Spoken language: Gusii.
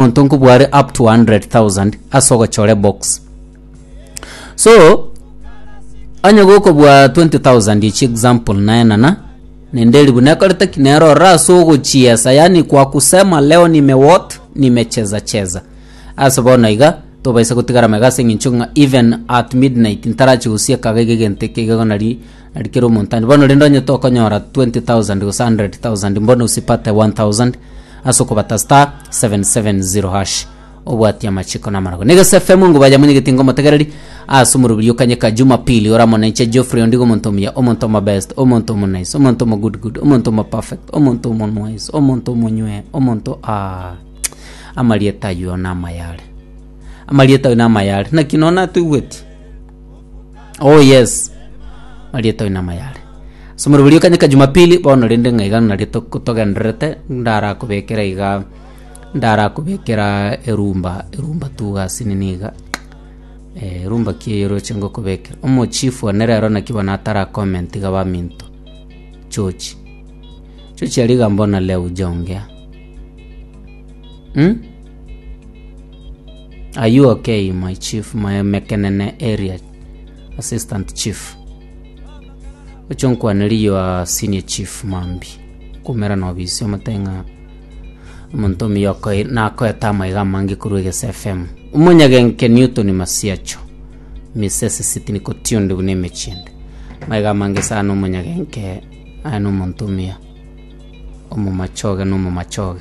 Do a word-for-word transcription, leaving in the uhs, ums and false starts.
Omonto nkobware up to one hundred thousand ase ogochora ebox. So, onye gokobua twenty thousand echi example naenana, naende eribu nekorete ki? Nere ororo ase ogochiesa yaani kwa kusema leo nime what? Nimecheza cheza. Ase bono iga, tobaisa gotigara magega ase eng'encho ng'a even at midnight ntarachi gosieka iga egento eke iga nari nari kera omonto ande. Bono rende onye tokonyora twenty thousand gose hundred thousand mbono usipate one thousand ase okobata star seven seven zero hash obwatie amachiko na amarago. Negese F M nguba ya mwenyegeti ngomotegereri ase omorobiri okanyeka Jumapili ore amo nainche Geoffrey Ondigo omonto omuya, omonto omo best, omonto omo nice, omonto omo good good, omonto omo perfect, omonto omo nwise, omonto omonywe, omonto aah amarieta ayio namaya are. Amarieta ayio namaya are. Naki nonya natoigweti? Oh yes, amarieta ayio namaya are. Ase omorobori okanyeka Jumapili, bono rende ng'a iga nario toko togendererete, ndarakobekera iga, ndarakobekera erumba, erumba tu gasi nini iga, erumba ki eye oroche ngokobekera. Omochifu one rero naki bono atara comment iga baminto, George. George aria iga mbona leo hujaongea mh? Are you okay my chief, my Mekenene area assistant chief? Oche onkwanerie your senior chief mambia, nkoumera na obisi omotebi ng'a omonto omuya okoe nakoete amaiga amange korwa Egesa F M. Omonyagenke Newton Masiacho, Misese Sydney Kotionde buna emechie ende. Amaiga amange sana omonyagenke aye na omonto omuya, omomachoge na omomachoge.